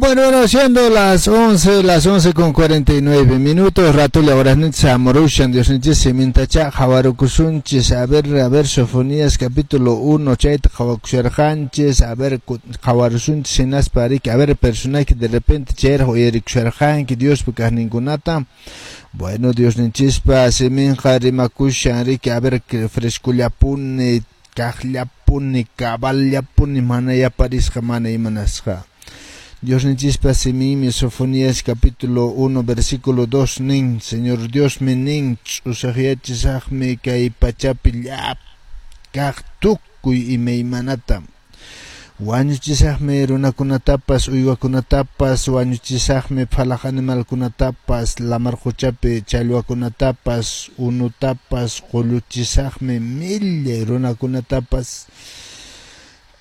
Bueno, siendo las 11, las 11:49, ratolla horasninchis hamurushan, Diosninchis simintacha qhawarukusunchis. A ver, Sofonías capítulo 1, chayta qhawakusharqanchis, a ver, qhawarusunchis hinaspa riki, a ver, personaje de repente chayraq uyarikusharqanki Diospa kaqninkunata. Bueno, Diosninchispa siminqa rimakushan riki, a ver, frescollapuni, kaqllapuni, caballapuni, mana yaparisqa, mana imanasqa. Diosninchispa siminmi Sofonías capítulo 1 versículo 2 nin: Señor Diosmi nin, ch'usaqyachisaqmi kay pachapi llapa kaq tukuy imaymanata. Wañuchisaqmi runakunatapas, uywakunatapas, wañuchisaqmi phalaq animalkunatapas, lamar quchapi challwakunatapas, unutapas, qulluchisaqmi millay runakunatapas.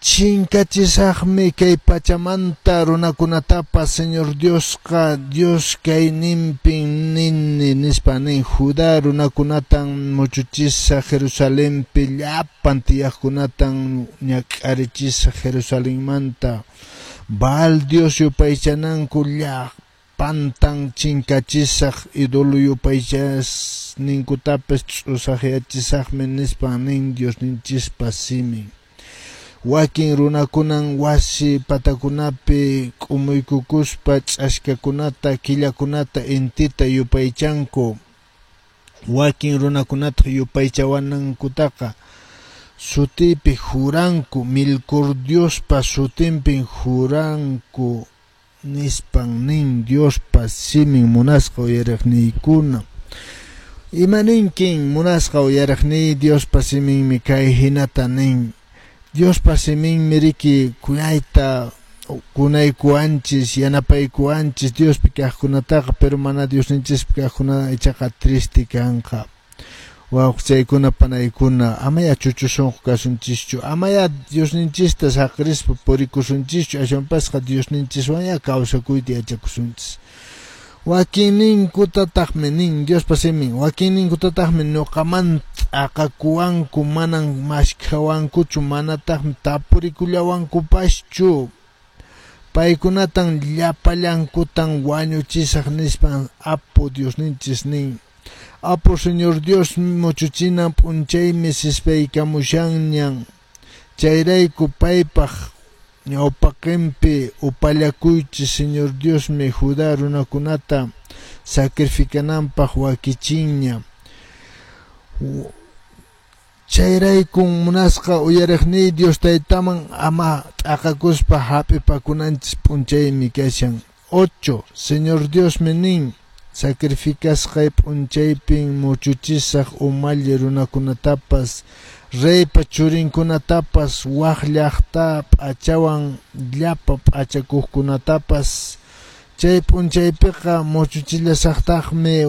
Chinkachisaqmi kay pachamanta runakunatapas. Señor Diosqa Dios kayninpin nini nispa nin: Judá runakunatan muchuchisaq, Jerusalenpi llapan tiyaqkunatan ñak'arichisaq. Jerusalenmanta Baal Dios yupaychananku llapantan chinkachisaq, ídolo yupaychasninkutapas ch'usaqyachisaqmi nispa nin Diosninchispa simin. Wakin runakunan wasi patakunapi k'umuykukuspa ch'askakunata, killakunata, intita yupaychanku. Wakin runakunataq yupaychawanankutaqa sutiypi juranku, Milcor Diospa sutinpin juranku nispan nin Diospa simin, munasqa uyariqniykuna. Imaninkin, munasqa uyariqniy? Diospa siminmi kay hinata nin. Diospa siminmi riki kuyayta kunaykuwanchis, yanapaykuwanchis Diospi kaqkunataqa, pero mana Diosninchispi kaqkuna ichaqa triste kanqa. Wawqichaykuna, panaykuna, amaya chuchu sunqu kasunchischu, amaya Diosninchista saqirispa purikusunchischu, ashwanpasqa Diosninchiswanya kawsakuyta yachakusunchis. Wakinninkutataqmi nin Diospa simin, wakinninkutataqmi ñuqamanta t'aqakuwanku, manan maskhawankuchu, manataqmi tapurikullawankupaschu. Paykunatan llapallankutan wañuchisaq nispan Apu Diosninchis nin. Apu Señor Dios muchuchinan p'unchaymi sispaykamushanñan. Chayrayku paypaq ñawpaqinpi upallakuychis. Señor Diosmi Judá runakunata sacrificananpaq wakichinña. Chayraykun, munasqa uyariqniy, Dios Taytaman ama t'aqakuspa hap'ipakunanchis p'unchaymi kashan. 8. Señor Diosmi nin: sacrificasqay p'unchaypin muchuchisaq umalli runakunatapas, reypa churinkunatapas, waq llaqta p'achawan llapa p'achakuqkunatapas. Chay p'unchaypiqa muchuchillasaqtaqmi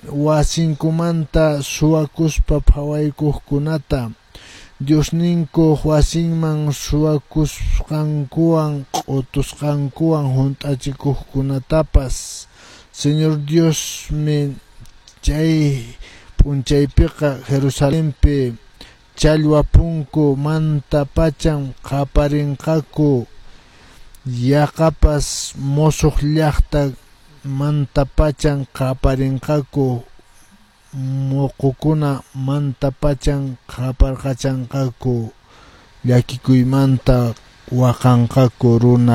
wasinkumanta suwakuspa phawaykuqkunata, Diosninkuq wasinman suwakusqankuwan q'utusqankuwan hunt'achikuqkunatapas. Señor Diosmi chay p'unchaypiqa Jerusalenpi challwa punku manta pachan qaparinqaku, yaqapas musuq llaqta manta pachan qaparinqaku, muqukuna manta pachan qaparqachanqaku, llakikuymanta waqanqaku runa.